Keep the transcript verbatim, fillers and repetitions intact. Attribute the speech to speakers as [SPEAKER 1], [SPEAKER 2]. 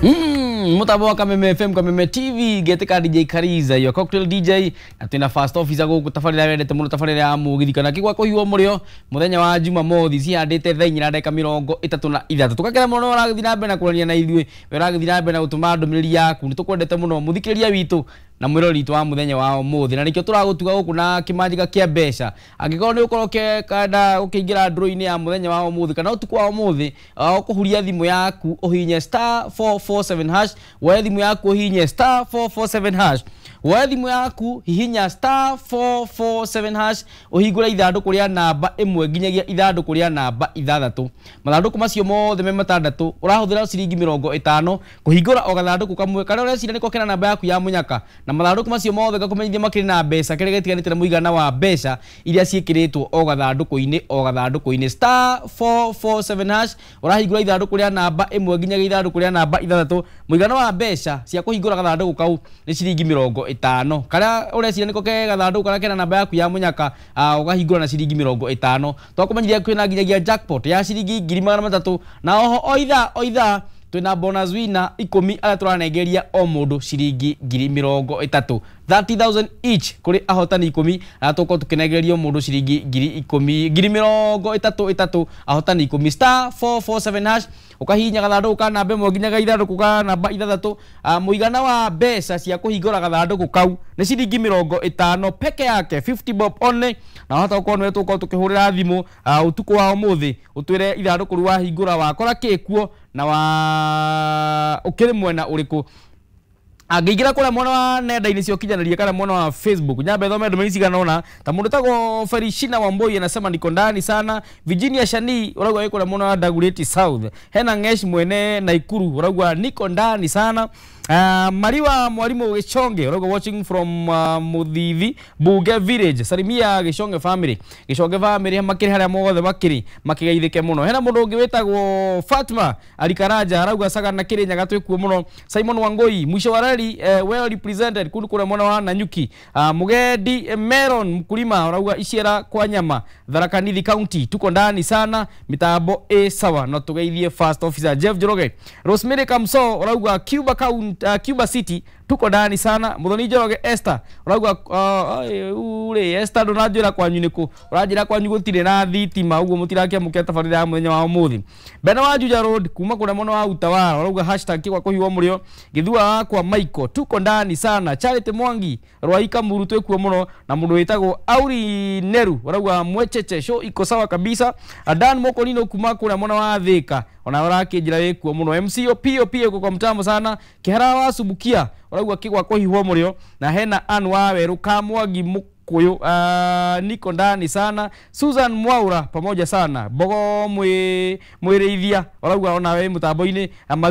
[SPEAKER 1] Mm, mutambo wa Kameme F M, Kameme T V, getika D J Kariza, your cocktail D J, na twina first officer guku tabarira wendete muno tabarira ya mugithi kana kigwa kuhiwo murio muthenya wa Jumamothi cihandite thaa inya na ndagika mirongo itatu na ithatu. Tukakena muno ũragithi na mbere na kwarania na ithuĩ, we ũragithi na mbere na gũtũma ndũmĩrĩri yaku, nĩtũkwendete muno mũthikĩrĩria witũ na mwĩrori witũ wa muthenya wa ũmũthĩ, na nĩkĩo tũragũtuga gũkũ na kĩmanjĩka kĩa mbeca. Angĩkorwo nĩ ũkorwo ũkĩenda ũkĩingĩra draw-inĩ ya muthenya wa ũmũthĩ kana ũtukũ wa ũmũthĩ, ũkũhuria thimũ yaku ũhihinye star four four seven hash, woe thimũ yaku ũhihinye star four four seven hash, woe thimũ yaku hihinya star four four seven hash, ũhingũre ithandũkũ rĩa namba ĩmwe nginyagia ithandũkũ rĩa namba ithathatũ. Mathandũkũ macio mothe me matandatũ, ũrahũthĩra ciringi mĩrongo ĩtano kũhingũra o gathandũkũ kamwe karĩa ũreciria nĩko kena namba yaku ya mũnyaka, na mathandũkũ macio mothe ngakũmenyithia makĩrĩ na mbeca kĩrĩa gĩtiganĩte na mũigana wa mbeca iria ciĩkĩrĩtwo o gathandũkũ-inĩ o gathandũkũ-inĩ. Star four four seven hash, ũrahingũra ithandũkũ rĩa namba ĩmwe nginyagia ithandũkũ rĩa namba ithathatũ, mũigana wa mbeca cia kũhingũra gathandũkũ kau nĩ ciringi mĩrongo ĩtano. Karĩa ũreciria nĩko ke gathandũkũ karĩa kena namba yaku ya mũnyaka, ũgahingũra na ciringi mĩrongo ĩtano. Twakũmenyithia kwĩna nginyagia jackpot ya ciringi ngiri magana matatũ, na oho o ithaa o ithaa twina bonus winner ikũmi arĩa tũranengeria o mũndũ ciringi ngiri mĩrongo ĩtatũ, thirty thousand each kũrĩ ahotani ikũmi arĩa tũgũkorwo tũkĩnengeria o mũndũ ciringi ngiri ikũmi, ngiri mĩrongo ĩtatũ ĩtatũ, ahotani ikũmi. Star four four seven hash, ũkahihinya gathandũkũ ka namba ĩmwe nginyagia ithandũkũ ka namba ithathatũ. Mũigana wa mbeca cia kũhingũra gathandũkũ kau nĩ ciringi mĩrongo ĩtano peke yake, fifty bob only, na wahota gũkorwo nĩwe tũgũkorwo tũkĩhũrĩra thimũ ũtukũ wa ũmũthĩ ũtwĩre ithandũkũ rĩu wahingũra wakora kĩ kuo na wa ũkĩrĩ mwena ũrĩkũ. Angĩingĩra kũrĩa mwena wa nenda-inĩ cia ũkinyanĩria kana mwena wa Facebook, nyambe thome ndũmĩrĩri cigana ũna. Ta mũndũ wĩtagwo Felishina Wambui anasema niko ndani sana. Virginia Shani ũrauga wĩ kũrĩa mwena wa Dagoretti South. Hena Ngesh mwene Naikuru ũrauga niko ndani sana. Uh, Mariwa Mwalimu Gishonge ũrauga watching from uh, Muthithi Bunge Village. Salimia Gishonge family. Gishonge family makĩrĩ harĩa mothe makĩrĩ makĩgeithĩke mũno. Hena mũndũ ũngĩ wĩtagwo Fatma Alikaraja arauga Sagana Kĩrĩnyaga twĩkuo mũno. Simon Wangoi mwisho wa reli, eh, well represented kundu kũrĩa mwena wa Nanyuki. Uh, Mugendi eh, Meron mkulima arauga Iciera kwa nyama Tharaka Nithi County, tuko ndani sana, mitambo ĩ sawa na tugeithie first officer Jeff Njoroge. Rosemary Kamso arauga Cuba County, uh, Cuba City, tuko ndani sana. Muthoni Njoroge Esther urauga uh, ure Esther ndunanjira kwanyu niku uranjira kwanyu gutire na thitima uguo mutirakiamukia tabarira ya muthenya wa umuthi. Bena wa Juja Road kuma kuria mwena wa Utawala urauga hashtag kigwa kuhiwo murio githua wakwa Michael, tuko ndani sana. Charity Mwangi Rwaika Muru twikuo muno, na mundu witagwo Auri Neru urauga mwecheche show iko sawa kabisa. Adan Mokolino kuma kuria mwena wa Thika ona urakinjira wikuo muno. M C O P O P uko kwa mtambo sana. Kihara wa Subukia urauga kigwa kuhihwo murio, na hena Ann wa Weru Kamwangi Mukuyu, uh, niko ndani sana. Susan Mwaura pamoja sana. Bogo mwi mwirithia urauga ona we mutambo-ini.